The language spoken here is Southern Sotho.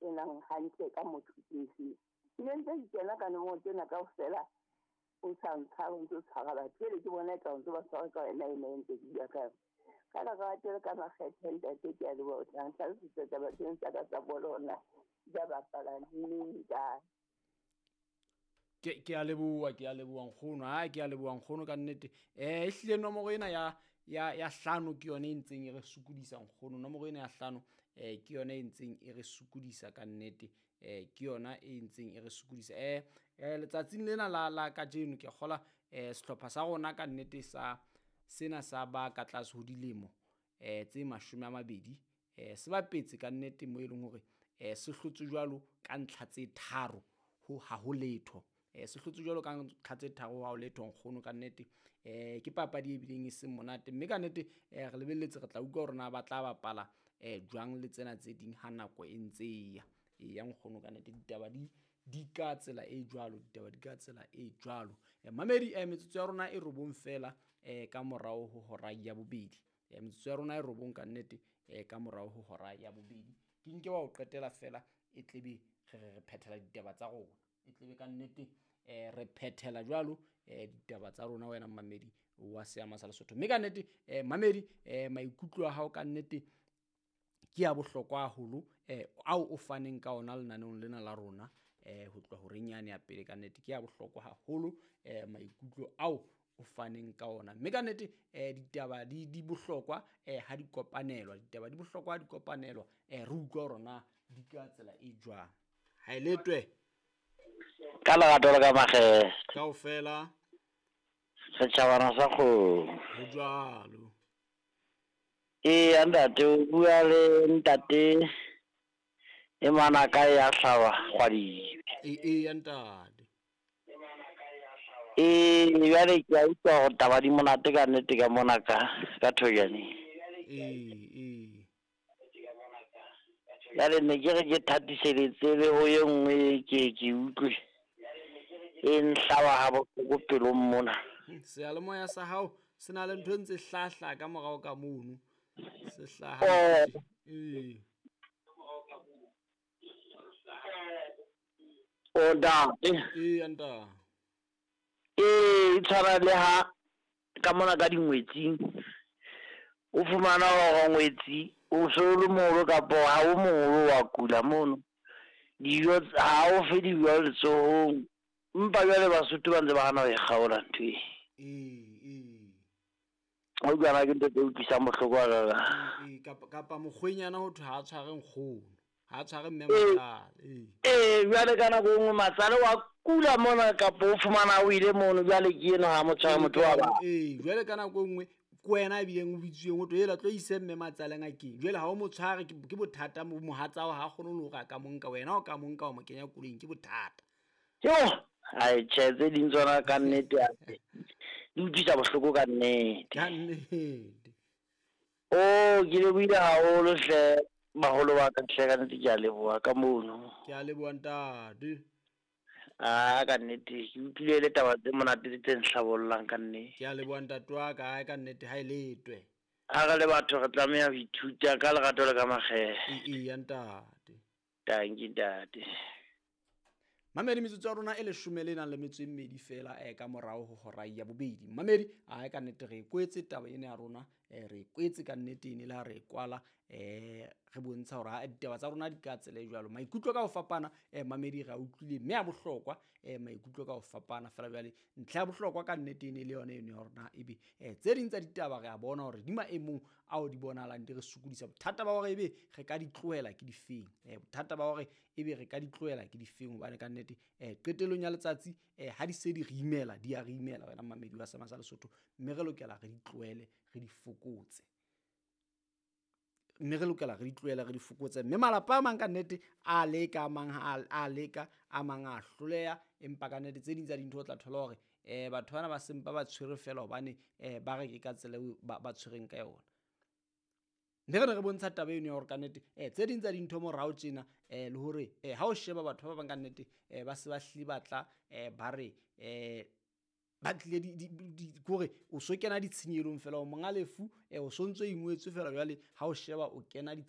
kenang hantle ka motho ke efeng. Ke ne ntse ke kena ka nomoro tsena kaofela, o sa ntshware, o ntso tshwara batho. Jwale ke bona eka o ntso ba tshwara ka wena ena e ntse ke bua ka yona. Ka lerato le ka makgethe ntate, ke a leboha. O tla ntlhalosetsa taba tseno tsa ka tsa bolo hore na di tla bapala neng, kae. Ke a leboha, ke a leboha nkgono. Ha ke a leboha nkgono ka nnete. Ehlile nomoro ena ya hlano ke yona e ntseng e re sokodisa nkgono. Nomoro ena ya hlano ke yona e ntseng e re sokodisa ka nnete. Ke yona e ntseng e re sokodisa. Letsatsing lena la kajeno ke kgola sehlopha sa rona ka nnete sa sena sa ba ka tlase ho dilemo tse 20 se bapetse ka nnete mo e leng hore se hlotse jwalo ka ntlha tse 3 ho ha ho letho. Se hlotse jwalo ka ntlha tse 3 ha ho letho nkgono ka nnete. Ke papadi e bileng e seng monate, mme ka nnete re lebelletse re tla utlwa hore na ba tla bapala jwang le tsena tse ding ha nako e ntse e ya. Eya nkgono ka nnete ditaba di ka tsela e jwalo, ditaba di ka tsela e jwalo. Mamedi, metsotso ya rona e 9 fela ka morao ho hora ya bobedi. Metsotso ya rona e 9 ka nnete ka morao ho hora ya bobedi. Ke nke wa ho qetela fela e tlebe re phethela ditaba tsa rona. E tlebe ka nnete re phethela jwalo ditaba tsa rona wena mamedi wa Seama sa Lesotho. Mme ka nnete mamedi, maikutlo a hao ka nnete ke a bohlokwa haholo ao o faneng ka ona lenaneong lena la rona ho tloha horeng yane ya pele. Ka nnete ke a bohlokwa haholo maikutlo ao o faneng ka ona. Mme ka nnete ditaba di bohlokwa ha di kopanelwa, ditaba di bohlokwa ha di kopanelwa, re utlwa hore na di ka tsela e jwang. Ha e letwe. Ka lerato le ka makgethe. Kaofela. Setjhabana sa kgomo. Ho jwalo. Eya ntate, o bua le ntate e manaka ya hlaba kgwadibe. Eya ntate. Jwale ke a utlwa hore taba di monate ka nnete ka mona ka Thojaneng. Ee. Jwale ne ke re ke thatiseletse le ho e nngwe ke utlwe e nhlaba ha bohloko pelong mona. Seyalemoya sa hao se na le ntho e ntse hlahla ka morao ka mono. Se hlaha. Ee. O ntate. Ee ntate. E tshwana le ha ka mona ka dingwetsing o fumana hore ngwetsi o so le moholo kapa ha o moholo wa kula mono. Dijo ha o fe dijo letsohong. Empa jwale Basotho ba ntse ba hana ho e kgaola ntho e. Ee. O utlwa ke ntho tse utlwisang bohloko hakaakang. Ee, kapa mokgwenyana ho thwe ha a tshware nkgono, ha a tshware mme matsale. Ee, jwale ka nako e nngwe matsale wa kula mona kapa o fumana o ile mono, jwale ke eno ha mo tshware motho wa ba. Ee, jwale ka nako e nngwe ke wena a bileng o bitsweng ho thwe hela tlo ise mme matsale ngakeng. Jwale ha o mo tshware ke bothata, mohatsa wa hao ha kgone le hore a ka mo nka, wena o ka mo nka wa mo kenya koloing ke bothata. Jo, ai tjhe, tse ding tsona ka nnete hape di utlwisa bohloko ka nnete. Ka nnete. Oh, ke lebohile haholo hle baholo ba ka hle, ka nnete ke a leboha ka mono. Ke a leboha ntate. Ah, ka nnete ke utlwile le taba tse monate tse nhlabollang ka nnete. Ke a leboha ntate wa ka, ka nnete ha e letwe. Ha re le batho re tlameha ho ithuta ka lerato le ka makgethe. Eya ntate. Tanki ntate. Mamedi, metsotso ya rona e 12 le nang le metso e 2 fela ka morao ho hora ya bobedi. Mamedi, a ka nnete re kwetse taba ena ya rona, re kwetse ka nnete ene le ha re kwala, re bontsha hore ha ditaba tsa rona di ka tsela e jwalo. Maikutlo ka ho fapana, mamedi re a utlwile mme a bohlokwa, maikutlo ka ho fapana fela jwale ntlha ya bohlokwa ka nnete ene le yona eno ya hore na ebe tse ding tsa ditaba re a bona hore di maemong ao di bonahalang di re sokodisa. Bothata ba hore ebe re ka di tlohela ke difeng, bothata ba hore ebe re ka di tlohela ke difeng, hobane ka nnete qetellong ya letsatsi ha di se di re imela, di a re imela wena mamedi wa Seama sa Lesotho, mme re lokela re di tlohele, re di fokotse. Mme re lokela re di tlohele, re di fokotse. Mme malapa a mang ka nnete a leka, a mang a leka, a mang a hloleha, empa ka nnete tse ding tsa dintho o tla thola hore batho bana ba sempa ba tshwere fela hobane ba re ke ka tsela eo ba tshwereng ka yona. Mme re ne re bontsha taba eno ya hore ka nnete tse ding tsa dintho morao tjena le hore ha o sheba batho ba bang ka nnete ba se ba hlile ba tla ba re ba tlile di kore o so kena ditshenyelong fela, o monga lefu o so ntso ingwetswe fela jwale ha o sheba o kena